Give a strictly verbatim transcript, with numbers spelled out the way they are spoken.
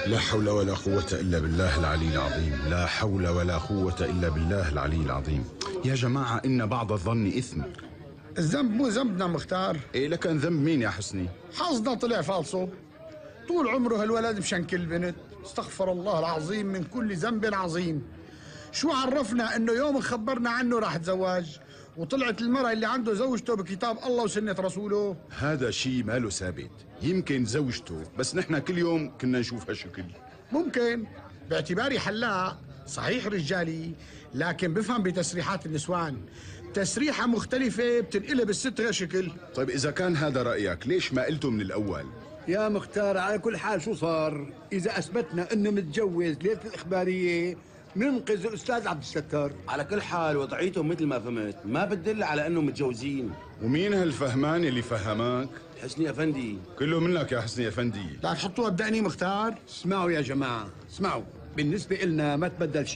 لا حول ولا قوة إلا بالله العلي العظيم. لا حول ولا قوة إلا بالله العلي العظيم. يا جماعة إن بعض الظن إثم. الذنب مو ذنبنا مختار. إيه لكن ذنب مين يا حسني؟ حظنا طلع فالصو. طول عمره هالولد مشنكل بنت. استغفر الله العظيم من كل ذنب عظيم. شو عرفنا انه يوم خبرنا عنه راح تزواج وطلعت المرأة اللي عنده زوجته بكتاب الله وسنة رسوله؟ هذا شيء ماله ثابت. يمكن زوجته بس نحن كل يوم كنا نشوفها شكل. ممكن باعتباري حلاق صحيح رجالي لكن بفهم بتسريحات النسوان. تسريحة مختلفة بتنقلب الست شكل. طيب إذا كان هذا رأيك ليش ما قلته من الأول؟ يا مختار على كل حال شو صار؟ إذا أثبتنا إنه متجوز ليلة الإخبارية ننقذ الأستاذ عبد الستار. على كل حال وضعيتهم مثل ما فهمت ما بتدل على إنه متجوزين. ومين هالفهمان اللي فهمك؟ حسني أفندي. كله منك يا حسني أفندي. لا تحطوها بدقني مختار. اسمعوا يا جماعة اسمعوا، بالنسبة إلنا ما تبدل شيء.